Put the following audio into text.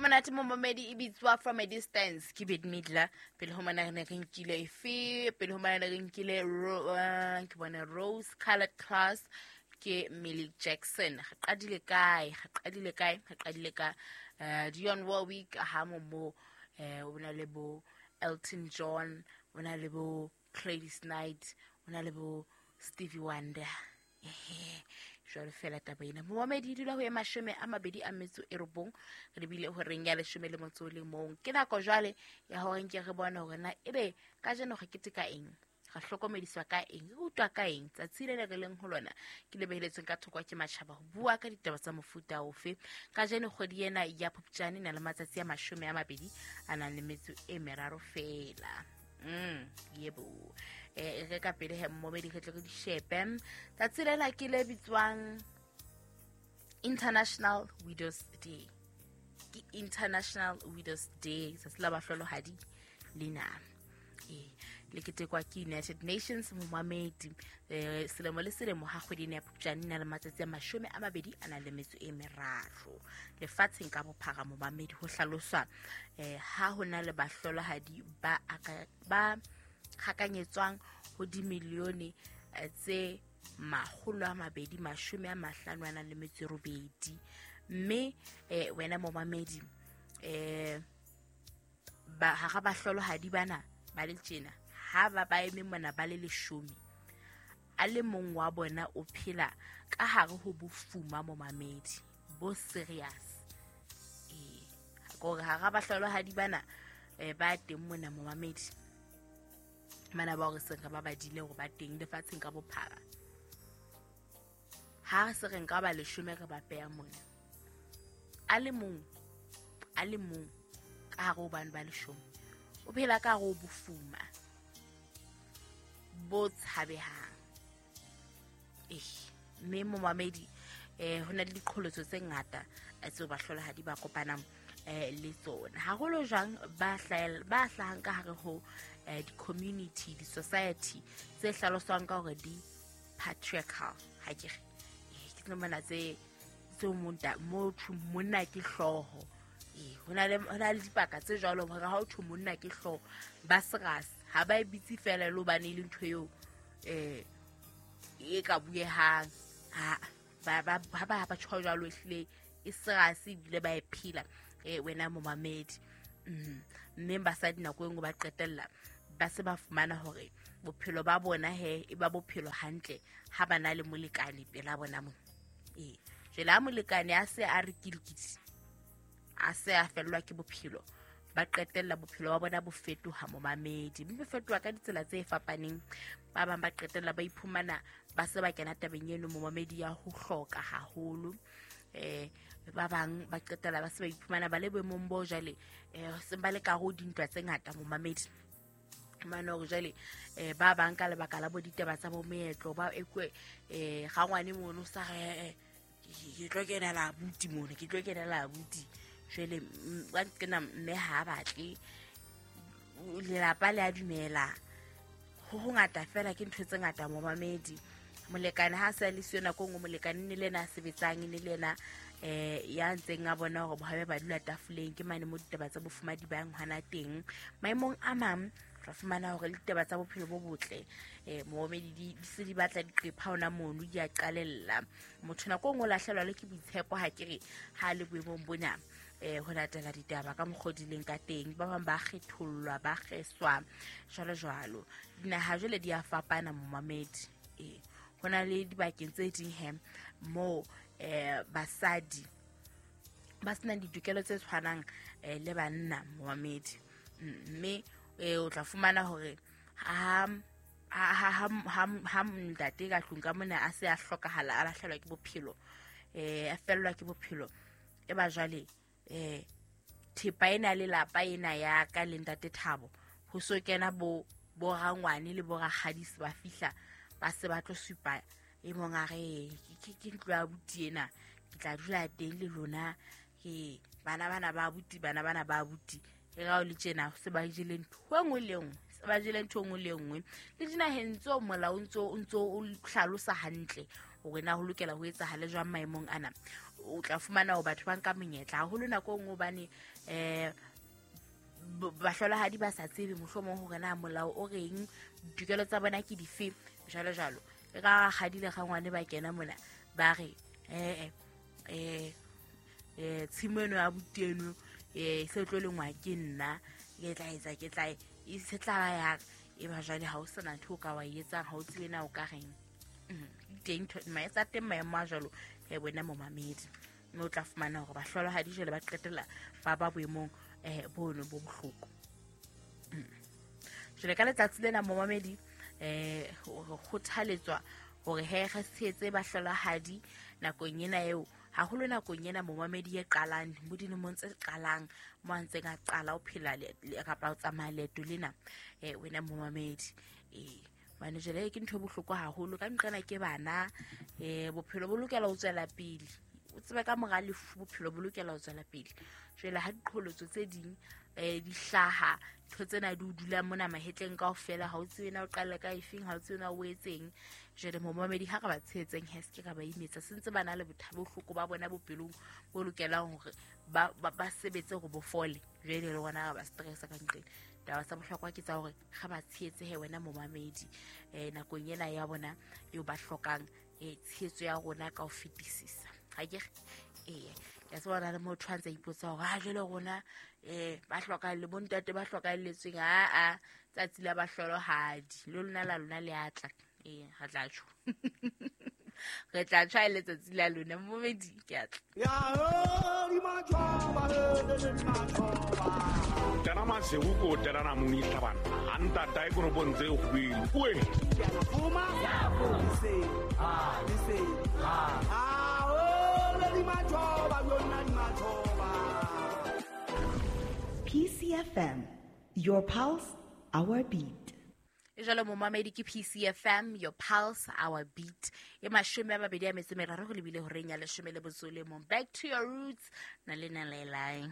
Monate momamedi, e bitswa From a Distance ke Bette Midler. Pele ho mona re ne re nkile efe? Pele ho mona ne re nkile ke bone Rose Colored Class ke Millie Jackson. Re qadile kae? Re qadile kae? Re qadile ka Dionne Warwick ha mo o na le bo Elton John, o na le bo Gladys Knight, o na le bo Stevie Wonder. Ehe, jwalo fela taba ena, momamedi, e dula ho ye 29, re lebile horeng ya 11. Ke nako jwale ya hore nke re bone hore na ebe kajeno re keteka eng, re hlokomediswa ka eng, re utlwa ka eng. Tsatsi le le re leng ho lona ke le beheletsweng ka thoko ke matjhaba ho bua ka ditaba tsa mofuta ofe. Kajeno kgwedi ena ya Phupjane e na le matsatsi a 23 fela. Yebo, re ka pele he mmomedi, re tle re di shepe. Tsatsi lena ke le bitswang International Widows Day. Ke International Widows Day, tsatsi la bahlolohadi lena. Le ketekwa ke United Nations, momamedi, selemo le selemo ha kgwedi ena ya Phupjane e na le matsatsi a 23 lefatsheng ka bophara, momamedi. Ho hlaloswa ha ho na le bahlolohadi ba hakanyetswang ho dimilione tse 258. Mme wena momamedi, ba hara bahlolohadi bana ba le tjena, ha ba ba eme mona ba le 10, a le mong wa bona o phela ka hare ho bofuma, momamedi, bo serious. Kore hara bahlolohadi bana ba teng mona, momamedi, mana ba hore se re ba badile hore ba teng lefatsheng ka bophara, ha re se re nka ba 10 re ba peya mona, a le mong ka hare ho bane ba 10 o phela ka hare ho bofuma bo tshabehang. Mme momamedi, ho na le diqholotso tse ngata tseo bahlolohadi ba kopanang le tsona, haholo jwang ba hlahang ka hare ho di-community, di-society tse hlaloswang ka hore di patriarchal. Ha ke re ke tlo mona tse mo thwe monna ke hlooho. Ho na le dipaka tse jwalo hore ha o thwe monna ke hlooho, ba serious, ha ba e bitse fela le hobane e le ntho eo e ka buehang. Ha ba tjho jwalo, ehlile e serious ebile ba e phela, wena momamedi. Mme basadi nako e nngwe ba qetella ba se ba fumana hore bophelo ba bona he e ba bophelo hantle ha ba na le molekane pela bona mona. Jwale ha molekane a se a re kilikiti, a se a fellwa ke bophelo, ba qetella bophelo ba bona bo fetoha, momamedi, mme bo fetoha ka ditsela tse fapaneng. Ba bang ba qetella ba iphumana ba se ba kena tabeng eno, momamedi, ya ho hloka haholo. Ba bang ba qetella ba se ba iphumana ba le boemong bo jwale seng ba le ka ho dintwa tse ngata, momamedi. Mane hore jwale ba bang ka lebaka la bo ditaba tsa bo meetlo ba ekwe rangwane mono sa re ke tlo kenela abuti mono, ke tlo kenela abuti. Jwale ba kena mme ha batle lelapa le a dumela ho hongata fela, ke ntho tse ngata, momamedi. Molekane ha sa le siyo nako nngwe, molekane ne le yena a sebetsang, ne le yena ya ntseng a bona hore bohabe ba dula tafoleng. Ke mane mo ditaba tsa bofumadi ba yang hona teng. Maemong a mang ra fumana hore le ditaba tsa bophelo bo botle, momamedi, di se di batla diqepha hona mono, di a qalella. Motho nako e nngwe o lahlehelwa le ke boitshepo, ha ke re ha le boemong bona ho latela ditaba ka mokgwa o di leng ka teng. Ba bang ba kgethollwa, ba kgeswa, jwalo jwalo. Dinaha jwale di a fapana, momamedi. Ho na le dibakeng tse ding he moo basadi ba senang ditokelo tse tshwanang le banna, momamedi. Mme o tla fumana hore ha ntate ka tlung ka mona a se a hlokahala, a lahlehelwa ke bophelo, a fellwa ke bophelo, e ba jwale thepa ena lelapa ena ya ka le ntate Thabo, ho so kena bo rangwane le bo rakgadisi ba fihla ba se ba tlo supa e mong a re ke ntlo ya abuti ena, ke tla dula teng le lona, ke bana bana ba abuti, bana bana ba abuti. E ga o le tjena se ba jele ntho e nngwe le nngwe, se ba jele ntho e nngwe le nngwe. Le dinaheng tseo molao o ntso o hlalosa hantle hore na ho lokela ho etsahale jwang maemong ana. O tla fumana hore batho ba nka monyetla haholo nako e nngwe hobane bahlolohadi ba sa tsebe mohlomong hore na molao o reng, ditokelo tsa bona ke dife, jwalo jwalo. E ka rakgadi le rangwane ba kena mona ba re tshimo eno ya abuti eno se tlo lengwa ke nna, ke tla etsa, ke tla e se tla ba ya ka. E ba jwale ha o sena ntho o ka wa e etsang, ha o tsebe na o ka reng. Teng maetsa teng maemo a jwalo, wena momamedi, mme o tla fumana hore bahlolohadi jwale ba qetella ba ba boemong bono bo bohloko. Jwale ka letsatsi lena momamedi, re kgothaletswa hore he re tshehetse bahlolohadi nakong ena eo, haholo nakong ena momamedi e qalang, mo dilemong tse qalang, mo a ntseng a qala ho phela kapa ho tsamaya leeto lena, wena momamedi. Hobane jwale ke ntho e bohloko haholo ka nqena ke bana, bophelo bo lokela ho tswela pele. O tsebe ka mora lefu bophelo bo lokela ho tswela pele. Jwale ha diqholotso tse ding di hlaha, ntho tsena di o dula mona mahetleng kaofela, ha o tsebe na o qale ka efeng, ha o tsebe na o etseng. Jwale momamedi, ha re ba tshehetseng he, se ke ra ba imetsa, se ntse ba na le bohloko ba bona bophelong bo lokelang hore ba sebetse hore bo fole. Jwale le rona re ba stressa ka nqeng. Taba tsa bohlokwa ke tsa hore re ba tshehetse he wena momamedi, nakong ena ya bona eo ba hlokang tshehetso ya rona ka ho fetisisa. Ha ke re? Ee, ke a tseba hona le motho a ntse a ipotsa hore ha jwale rona ba hlokang le bontate ba hlokahelletsweng, aa tsatsi la bahlolohadi le lona la lona le atla. Ee, re tla tjho. Re tla tjho ha e letsatsi la lona momamedi, ke a tla. Tena masewu ko tena na moni tlhabana. A ntata e kono bontse e kgwele. Oe. PCFM, your pulse, our beat. E jwalo momamedi ke PCFM, your pulse, our beat. E 23 go lebile horeng ya 11. Back to your roots, na le na le lae.